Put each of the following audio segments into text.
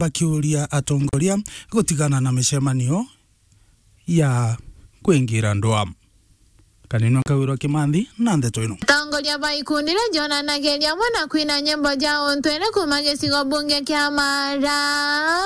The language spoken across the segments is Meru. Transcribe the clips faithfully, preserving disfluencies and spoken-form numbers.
bakiuria atongoria gutigana na micemanio ya kwingira ndwaa. Kanini wa Kawirwa Kimanthi na ndeto ino. Atongoria ba ikundi ria jonanagiria amwe na kwina nyimbo ja untwire kuuma gicigo bunge kia Mara,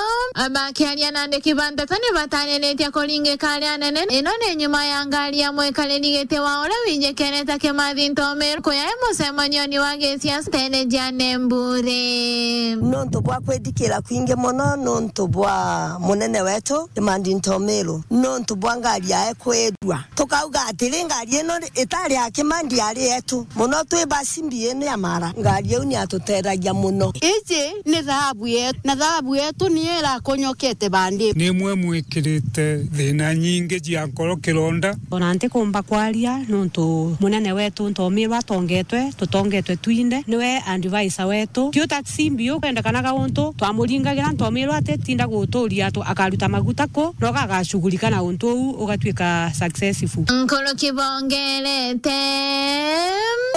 bakiaria na andiki ba nteto ni bataniritie kuringika ari anene. Ino ni nyuma ya ngari ya mwikariri giti wa uria wijikenete Kimathi Ntomiru kuya e mucemanioni wa gisiasa tene ja Nembure. Nontu bwa kwithikira kwingi mono, nontu bwa munene wetu Kimathi Ntomiru, nontu bwa ngari yae kwirua. Tukauga atiri, ngari ino ri-, itari ya Kimathi, yari yetu. Mono twi basimbi ino ya Mara. Ngari iu ni yatutethia mono. Iji ni thahabu yetu, na thahabu yetu niyo irakunyokete bandi. Nimwe mwikirite thina nyingi cia nkoro kironda. Ona ntikumba kwaria nontu munene wetu Ntomiru atongetwe, tutongetwe twinthe. Niwe advisor wetu. Ti uta simbi ukwendekanaga untu twamuringagira Ntomiru atitinda guturia tu akaruta maguta ku, na ugagacugurika na untu uu ugatuika successful. Nkuru kibongerete.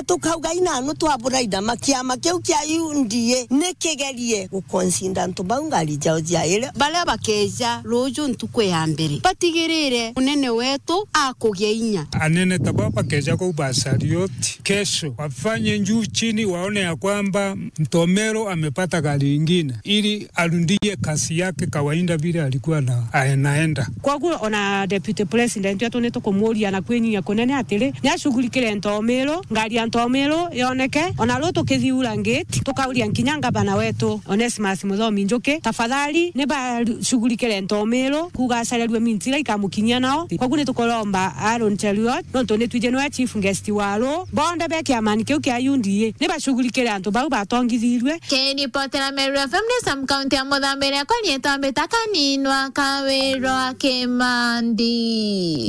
Tukauga inanu twaburaida ma kiama kiu kia U D A ni kigerie guconsider antu bau ngari jao jiaire. Baria bakeja ruju ntuku ya mbere, batigirire munene wetu akugia inya. Anene ta baba bakeja kuu Basarioti, kesho wafanye juu chini, waone ya kwamba Ntomiru amepata gari ingine ili arudie kazi yake kawaida vile alikuwa na, anaenda. Koguo ona Deputy President wetu ni tukumuria na kwinyia kunene atiri, ni ashughulikire Ntomiru, ngari ya Ntomiru yoneke, ona ru tukithiura ngiti, tukauria nkinya ngavana wetu Onesmus Muthomi Njuki, tafadhali ni bashughulikire Ntomiru, kuuga acarerue means iria ikamukinyia nao. Koguo ni tukuromba Aaron Cheruiyot, nontu ni twiji niwe chief guest wa ru, bonthe be kiamani kiu kia U D A, ni bashughulikire antu bau batongithirue. Kiripotera Meru F M ni Sam County ya Muthambiri, akwa rietwa mbita Kaninwa Kawirwa Kimanthi.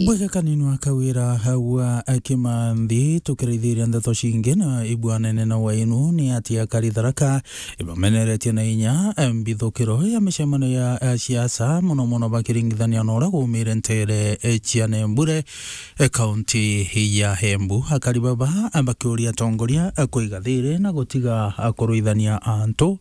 Bwega Kaninwa Kawira hagwa Kimanthi, tukiraithiria ndeto cingi na ibwanene na wainu ni ati akari Tharaka ibameneretie na inya mbithukiro ya micemanio ya, ya siasa, mono mono bakiringithania na uria gumire ntere cia Nembure, e, kaunti ya Embu. Akari baba bakiuria atongoria kwiga thiri na gutiga kuruithania antu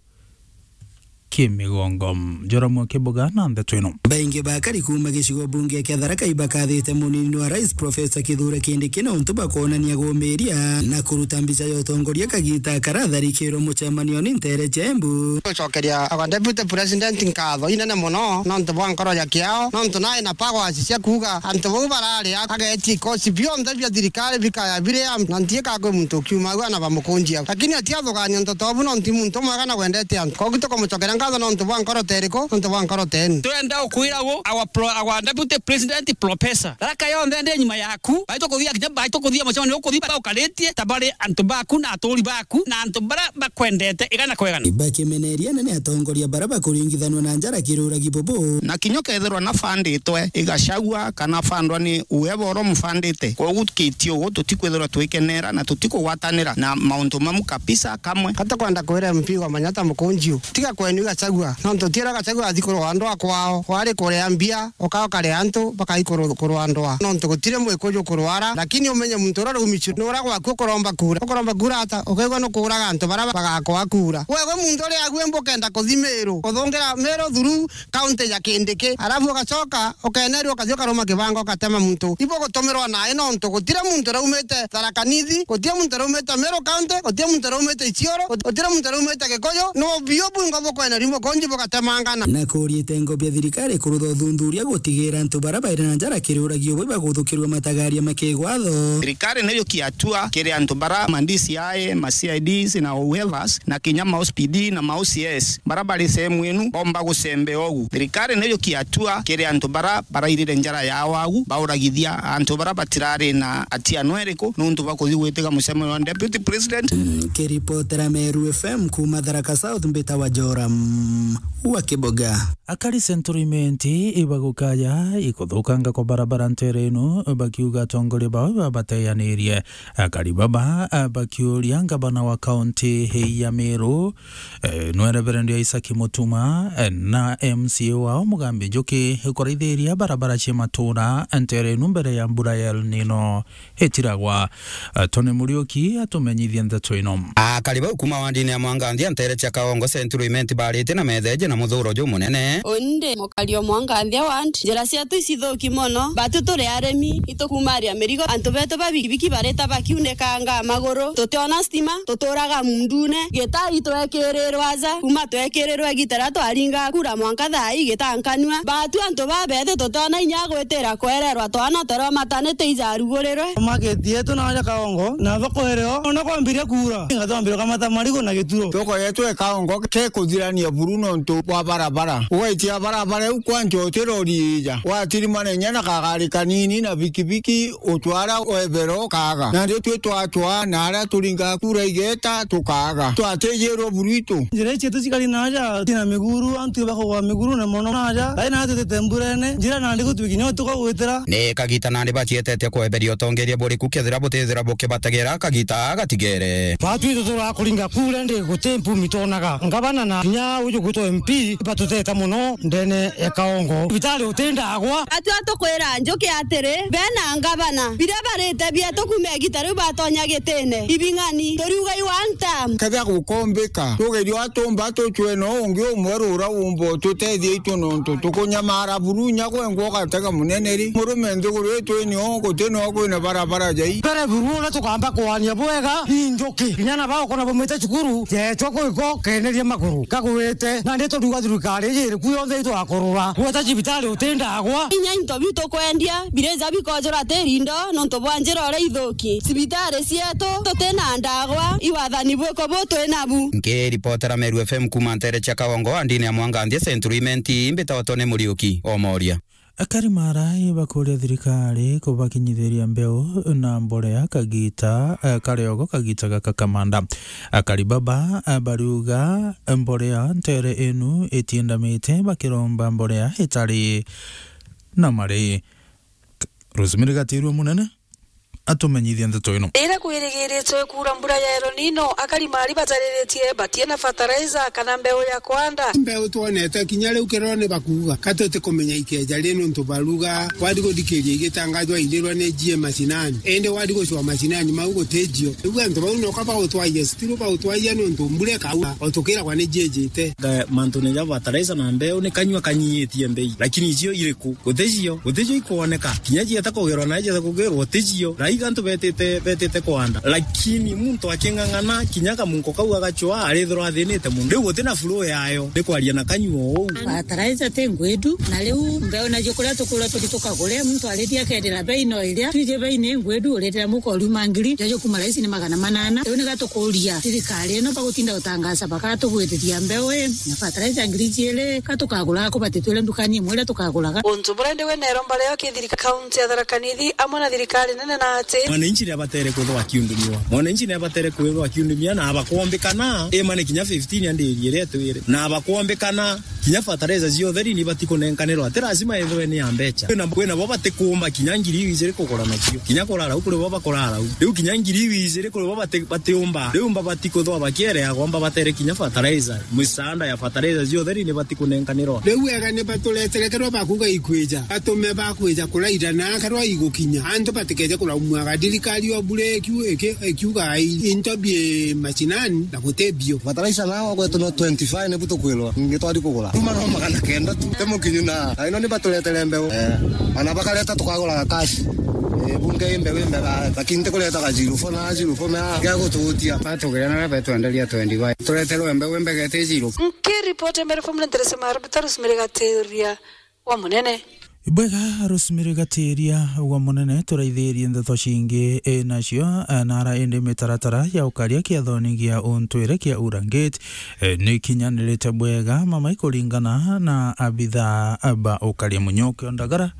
kimigongo. Joramu Kibuga na ndeto ino. Baingi ba akari kuuma gicigo bunge kia Tharaka ibakathite munini wa rais Professor Kithure Kindiki na untu bakwonania gumiria na kuruta mbica ya utongoria kagita karatharikirwe mucemanio ni ntere cia Embu. Gucokeria our deputy president nkatho inene mono nontu bwa nkoro ya kiao, nontu nae na powers cia kuuga antu bau bararia ageetie ikosi bionthe bia thirikari bikaya biri am-, na ntiika kwi muntu ukiuma au ana bamukunjia. Lakini atiathugania ntoto obu nontu i muntu mwega na wendete antu. Koguo tukumucokeria nkatho nontu bwa nkoro teriku, nontu bwa nkoro tenu. Turenda ukwira gu, our pro-, our deputy president professor. Tharaka yonthe ndi nyuma yaku. Bai tukuthia kinya bai tukuthia mucemanio ukuthia baukaritie ta bari antu baku na aturi baku na antu bara bakwendete igana kwa igana. Bakimeneria nene atongoria bara bakuringithanwa na njara kiruragi bubu. Na kinya ukethirwa na fund itwe igacagua kana fundwa ni uwe boro mufandite. Koguo tukitio ugu tutikwithirwa twikenera na tutikugwatanira na mauntu mamu kabisa kamwe. Kata kwenda kwira M P wa Manyata Mukunjiu, tiga kwenu igacagua. Nontu tiera gacagua athi kurwa andu akwao, kwari kuria mbia, uka ukaria antu, bakai kuru-, kurwa ndwaa. Nontu gutiri mwikuju kurwara, lakini umenye muntu uria rumicu ni uria gwaku ukuromba kura. Ukuromba kura ata? Ukaigua nukuuraga antu baria bagakwa kura. Wewe muntu uria agwe mbukenda kuthi Meru, uthungira Meru through county ya Kindiki, alafu ugacoka ukenerua ukathi ukaruma kibanga ugatema muntu. Ibo gutumirwa nae nontu gutiri muntu uraumite Tharaka Nithi, gutiri muntu uraumite Meru County, gutiri muntu uraumite Isiolo, gut-, gutiri muntu uraumite Gikuyu, no biu bwingo bukweneria mukunji bugatemangana. Na kuria itengo bia thirikari kurutha uthuthuria gutigira antu bara bairi na njara kiruragio bwi baguthukirua matagaria makigwatho. Thirikari niyo kia hatua kiri antu bara ma D C I, ma C I Ds na whoever's, na kinya ma O C P D na ma O C S, bara bari sehemu inu, bomba gucembea ugu. Thirikari niyo kia hatua kiri antu bara barairire njara yao agu, bauragithia antu bara batirari na hatia no iriku, nuntu bwa kuthi gwitiga mucemanio wa Deputy President. Mm, kiripotera Meru F M kuma Tharaka South, mbitawa Joram wa Kiboga. Akari Central Imenti ibagukaya ikuthukanga kwa barabara ntere inu, bakiuga atongoria bao babateyanirie. Akari baba bakiuria ngavana wa kaunti ya Meru, eh, nwe Reverend Isaac Mutuma, eh, na M C A wao Mugambi Njuki kuraithiria barabara cia matura ntere inu mbere ya mbura ya El Nino itiragwa. Eh, Tony Muriuki atumenyithie ndeto ino. Akari bau kuma wandini ya Mwanganthia ntere cia Kagongo Central Imenti barite na metheje na muthuro jumunene. Undi mukari o Mwanganthia ward, njira cietu icithuki mono, batu turi arimi, itukumaria mirigo, antu betu ba bikibiki barita bakiunikanga maguru, tutiona stima, tuturaga mundune, gita itwekirirwa aja, kuma twekirirwe gita riria twaringa kura mwanka thaa ii gita nkanua. Batu antu babethi tutiona inya gwitira kwererwa, twana twerwa matanite ijarugurirwe. Market yetu na aja Kagongo, na thoko irio, ona kwambiria kuura, inga twambiria kamata marigu na gituro. Thoko yetu e Kagongo ke kuthirania buru nontu bwa barabara. Ugaitia barabara iu kwanja uti rori ija. Watirimana inya na kagari kanini na bikibiki, utwara webero kaga. Na ndio twi twatwa na aria turinga kura igeta tukaga. Twatijirwe buru itu. Njira ici cietu cikari na aja, tina miguru, antu bakugwa miguru na mono na aja. Ai na tutite mburene, njira nandi gutwi kinya utuka gwitira. Ni kagita nandi bacietete kweberia utongeria buriku kethira butithira bukibategera kagita gatigere. Batwi tuturaga kuringa kura ndi guti mpumi twonaga. Ngavana na kinya uju gwitwa M P batuteta mono ndene ya Kagongo. Thibitari utindagwa. Atwi atukwira Njuki atiri, bena ngavana, biria barite bietu kuma igita riu batonya gitine, ibing'ani, turiuga i one term. Kethia gukombika, tugerio atumba tucwe no ungi umwe rura umba ututethia itu nontu tukunyamara buru inya gwengwa ugatega munene ri. Murume nthiguru itu ini o guti no kwina barabara jai. Mbere buru uria tukamba kwania bwega, i Njuki. Kinya na bao kona baumite cukuru, jeechwa kuiko keneria maguru. Kagwite, nandi turiuga thirikari iji iriku yonthe itwakurura. Gweta cibitari utindagwa. Inya into biu tukwendia, birija bikojura tiri indo, nontu bwa njira uria ithuki. Cibitari cietu, tutina ndagwa, iwathani bwiku bu twi nabu. Nkiripotera Meru F M kuma ntere cia Kagongo, andini ya Mwanganthia Central Imenti, mbitagwa Tony Muriuki, Omoria. Akari Maara ibakuria thirikari kubakinyithiria mbeu na mborea kagita, eh, kariogo kagita gaka kamanda. Akari baba, eh, bariuga mborea ntere inu itiendamite bakiromba mborea itari na mari. Rosemary Gatirua Munene atumenyithia ndeto ino. Riria kwirigiritwe kuura mbura ya El Nino, akari Maara batariritie batina fertilizer kana mbeu ya kwanda. Mbeu twonete kinya riu kirone bakuuga, ka tutikumenya ikeeja ri nontu baruga, wari guthikiria igitangajwa irirwa ni jie macinani. Indi wari gucwa macinani mau gutijio. Riu antu bau noka bagutwaia, still bagutwaia nontu mbura ikaura, o tukiragwa ni jiejite. Ga-, mantune ja fertilizer na mbeu ni kanyua kanyiitie mbei, lakini icio iriku? Guticio, guticio ikwoneka. Kinya cieta kugerwa na cieta kugerwa, guticio. Raiga antu betite, betite kwanda. Lakini muntu aking'ang'ana, kinya kamunko kau agacwa, arithirwa athinite mono. Riu guti na flow yayo, ni kwaria na kanyua uu. Fertilizer ti ngwindu, na riu mbeu nacio kuria tukwirwa tuthi tukagure, muntu arithia akendera bei no iria. Twiji bei ni ngwindu, urithira muko riuma ngiri, jajo kuma raisi ni magana manana. Riu niga tukuria thirikari ino bagutinda gutangaza bakatugwitithia mbeu ii, na fertilizer ngiri jiiri, ka tukagura ku batitwire ndukani imwe iria tukaguraga. Untu buria ndi wina iromba rio ki thirika-, kaunti ya Tharaka Nithi amwe na thirikari nene na ati. Mwananchi ni abatere kwithirwa akiundumiwa. Mwananchi ni abatere kwithirwa akiundumia na abakwombikana, imane kinya fifteen andirie iria itwire. Na abakwombikana, kinya fertilizer cia utheri ni ibati kunenkanirwa. Ti lazima ithirwe ni ya mbecha. Kwina, kwina bo batikuumba kinya ngiri iu ijiri kugura nacio. Kinya kurara u kuri bo bakurara u. Riu kinya ngiri iu ijiri kuri bo bati-, batiumba. Riu mba bati kuthwa bakiereagwa, mba batere kinya fertilizer. Misaanda ya fertilizer cia utheri ni bati kunenkanirwa. Riu ega ni baturetere kerwa bakuuga ikwija. Batume bakwija kuraira na kerwa igukinya. Antu batikeje kuraumwaga. Thirikari o bure ikiu-, iki-, ikiuga i-, into bi macinani na guti bio. Fertilizer nao gwetu no twenty-five nibu tukwirwa. Ningi twari kugura. Kuma no magana kenda tu. Te mukinyu na. Aino ni baturetere mbeu. Eh. Ana bakareta tukaguraga cash. Eh, bunge imbe wimbe ga, lakini te kureta ga zero four na zero four na ga gututia. Batugire na betwenderia twenty-five. Tureterwe mbeu imbe gete zero. Nkiripoti mbere from Nderese Maru, Rosemary Gatiria wa Munene. Bwega, Rosemary Gatiria wa Munene, turaithirie ndeto cingi, e, nacio, e, nara indi mitaratara ya ukaria kiathoni gia untwire kia Urangate, e, ni kinyanirite bwega mama ikuringana na abitha ba ukaria. Munyoki Ondagara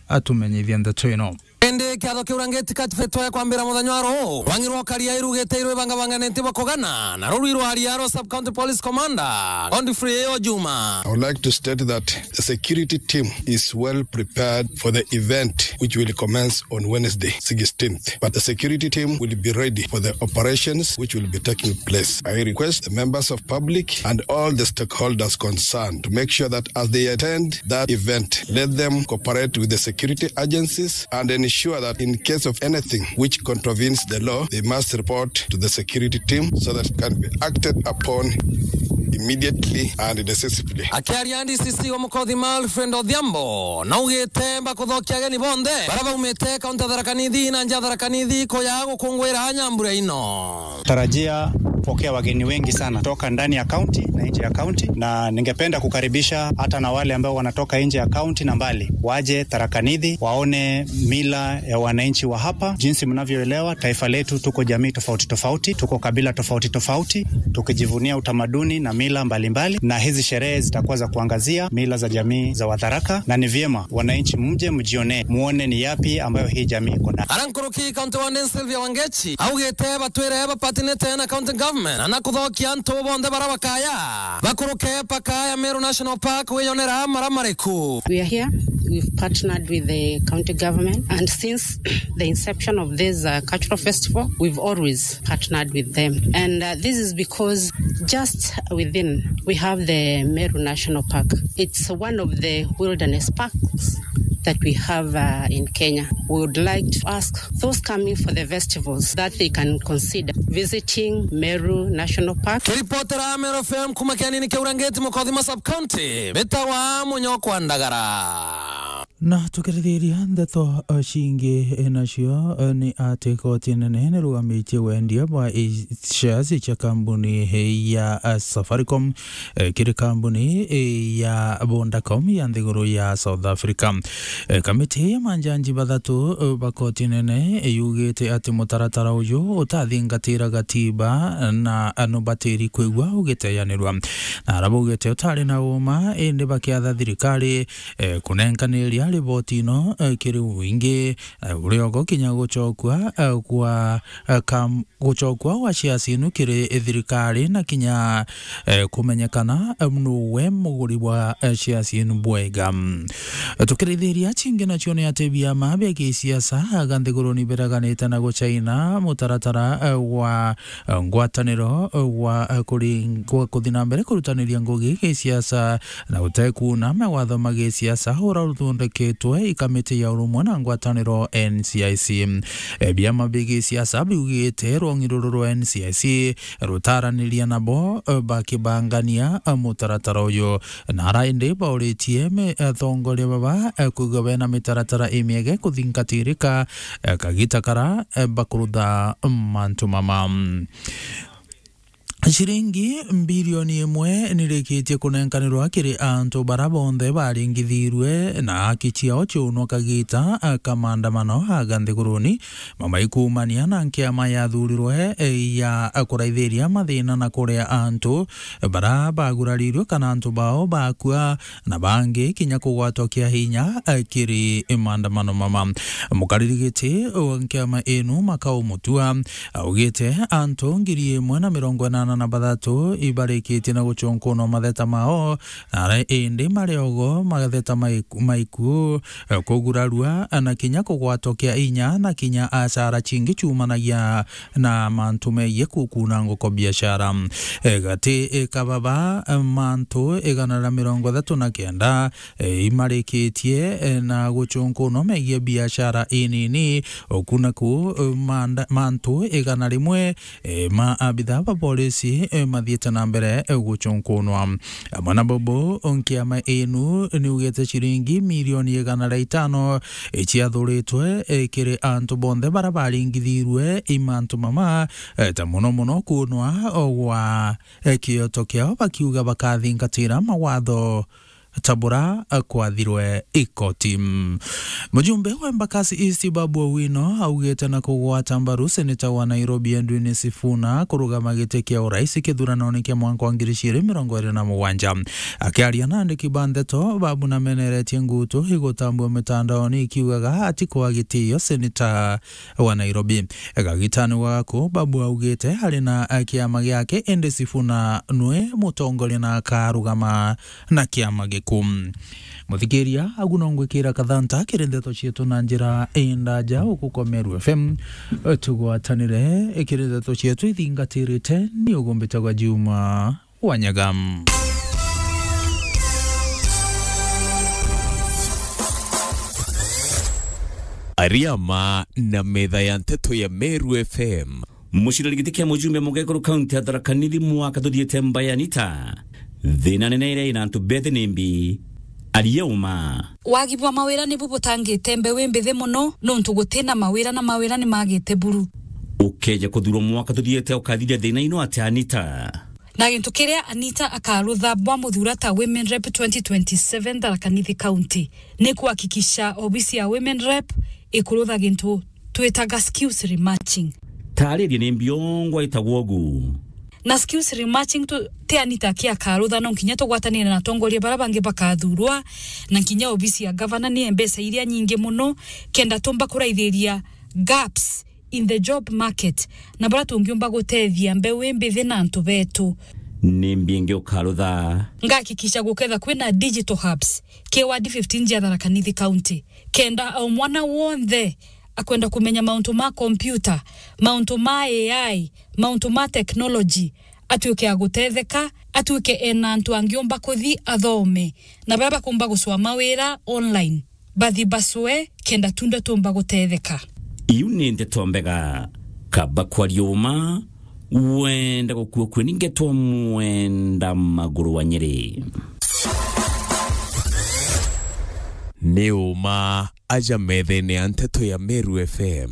atumenyithia ndeto ino. Indi kiatho kiu rangiti katifetwe kwambira muthenya wa ruu, rwang'i rwa Ukaria irugite irwibangabanganite bwa kugana na rurwi rwa Ariaro Sub County Police Commander Godfrey Ojuma. I would like to state that the security team is well prepared for the event which will commence on Wednesday, sixteenth. But the security team will be ready for the operations which will be taking place. I request the members of public and all the stakeholders concerned to make sure that as they attend that event, let them cooperate with the security agencies and ensure that in case of anything which contravenes the law, they must report to the security team so that it can be acted upon immediately and decisively. Akiaria D C C wa Mukothima Alfred Odhiambo, naugite bakuthokia ageni bonthe bara baumite kaunti ya Tharaka Nithi na nja ya Tharaka Nithi kuja gukungwira nyambura ino. Tarajia kupokea wageni wengi sana kutoka ndani ya kaunti na nje ya kaunti, na ningependa kukaribisha hata na wale ambao wanatoka nje ya kaunti na mbali, waje Tharaka Nithi, waone mila ya wananchi wa hapa. Jinsi mnavyoelewa, taifa letu tuko jamii tofauti tofauti, tuko kabila tofauti tofauti, tukijivunia utamaduni na mila mbalimbali, na hizi sherehe zitakuwa za kuangazia mila za jamii za Watharaka, na ni vyema wananchi mje mjionee, muone ni yapi ambayo hii jamii iko nayo. Arankuruki County Warden Sylvia Wangechi augite batwire bapatinite na county government na kuthokia antu bonthe bara bakaya bakuruke paka ya Meru National Park wiyonera mara mariku. We are here. We've partnered with the county government, and since the inception of this uh, cultural festival, we've always partnered with them. And uh, this is because just within, we have the Meru National Park. It's one of the wilderness parks that we have uh, in Kenya. We would like to ask those coming for the festivals that they can consider visiting Meru National Park. Kiripotera Meru F M kuma kianini kia Urangeti, Mukothima Sub County, mbitawa Munyokwa Ndagara. Na tukirithiria ndeto, eh, cingi, eh, nacio, eh, ni ati koti nene nirugamitie wendia bwa i-, shares cia kambuni, eh, ya, eh, Safaricom, eh, kiri kambuni, eh, ya Vodacom ya nthiguru ya South Africa. Eh, kamiti ya manjanji bathatu, eh, ba koti nene, eh, yugite ati mutaratara uyu utathingatira gatiba na, eh, nubatiri kwigua ugiteyanirwa. Na ara baugite utari na uma, indi bakiatha thirikari, eh, kunenkaniria riboti ino, eh, kiri wingi, eh, uriogo kinya gucokua, eh, kwa, eh, kam-, gucokua gwa shares inu kiri thirikari na kinya, eh, kumenyekana, eh, nuwe muguri wa, eh, shares inu bwega. Tukirithiria cingi nacio ni ati biama bia gisiasa aga nthiguruni biraganite na gucaina mutaratara, eh, wa, eh, ngwataniro, eh, wa, eh, kuri-, gwa kuthi na mbere kurutaniria ngugi gisiasa na utekuuna mawatho ma gisiasa ura uthondeketwe i kamiti ya urumwe na ngwataniro N C I C. E, biama bi gisiasa biugite rwong'i ruru rwa N C I C rutaraniria nabo, e, bakibangania, e, mutaratara uyu. Na ara indi bauritie me-, atongoria baba, e, kwigua bena mitaratara imiege kuthingatirika, e, kagita kara, e, bakurutha mantu mama. Ciringi mbirioni imwe nirikitie kunenkanirwa kiri antu bara bonthe baringithirwe na haki ciao ciunwa kagita ka maandamano aga nthiguruni, mamaikuumania na nkiama yathurirwe ya kuraithiria mathina na kuria antu bara bagurarirwe kana antu bao bakua na bangi kinya kugwatwa kia hinya, eh, kiri maandamano mama. Mukariri giti wa nkiama inu Makau Mutua augite antu ngiri imwe na mirongo inana na bathatu ibarikitie na gucunkunwa matheta mao, na ara indi mariogo matheta maiku, maiku, eh, kugurarua na kinya kugwatwa kia hinya na kinya acara cingi ciumanagia na mantu megie kukuna ngoko biashara. E, gati, e, kababa, e, mantu igana ria mirongo ithatu na kenda, e, imarikitie, e, na gucunkunwa megie biashara inini, okuna ku, e, manda-, mantu igana rimwe, e, ma abitha ba polisi, e, mathiite na mbere, e, gucunkunwa. Amwe na bobo, nkiama inu niugite ciringi milioni igana ria itano iciathuritwe, e, kiri antu bonthe bara baringithirwe i mantu mama, e, ta muno muno kunwa gwa, e, kioto kiao, bakiuga bakathingatira mawatho ta bura kwathirwe ikoti. Mujumbe wa Embakasi East Babu Owino augite na kugwata mbaru seneta wa Nairobi Edwin Sifuna kurugama giti kia urais kithuranone kia mwaka wa ngiri igiri mirongo iri na mugwanja. Akiaria na andiki ba ndeto, Babu nameneretie ngutu igutambua mitandaoni ikiugaga atikwa gitio seneta wa Nairobi. Gagitani waku, Babu augite ari na kiama giake, indi Sifuna nwe mutongoria na akarugama na kiama giku. Muthikiria, agu no ngwikira kathanta kiri ndeto cietu na njira indaja ukukomeru F M. Tugwatanire kiri ndeto cietu ithingatirite ni ugumbitagwa Juma Wanyaga. Ariama na metha ya nteto ya Meru F M. Muciriri giti kia mujumbe mugekuru kaunti ya Tharaka Nithi mwaka tuthiite Mbae Anita. Thina nene iria ina antu bethe ni mbi, aria uma. Wagi bwa mawira nibu butangite mbeu imbithi mono, nontu gutina mawira na mawira ni magite buru. Ukeja kuthurwa mwaka tuthiite ukathiria thina ino atia Anita? Na gintu kiria Anita akarutha bwa muthura ta Women Rep twenty twenty-seven Tharaka Nithi County ni kuhakikisha obisi ya Women Rep ikurutha gintu twitaga skills rematching. Taariria ni mbi ongwa itagwa ugu. Na skills rematching tu, ti Anita aki akarutha, no nkinya tugwatanire na atongoria baria bangi bakathurwa, na nkinya obisi ya gavana ni mbeca iria nyingi mono, kenda tumba kuraithiria gaps in the job market, na baria tungiumba gutethia mbeu imbithi na antu betu. Ni mbi ingi ukarutha? Ngahakikisha guketha kwina digital hubs ki ward fifteen cia Tharaka Nithi County, kenda o mwana wonthe akwenda kumenya mauntu ma computer, mauntu ma A I, mauntu ma technology, atuike a gutetheka, atuike ena antu angiumba kuthi athome, na baria bakumba gucwa mawira online bathi bacwe, kenda tunde tumba gutetheka. Iu ni ndeto mbega. Kaba kwaria uma, wenda gukua kue ni ngetwa mwenda maguru wa Nyeri. Ni uma aja methene ya nteto ya Meru F M.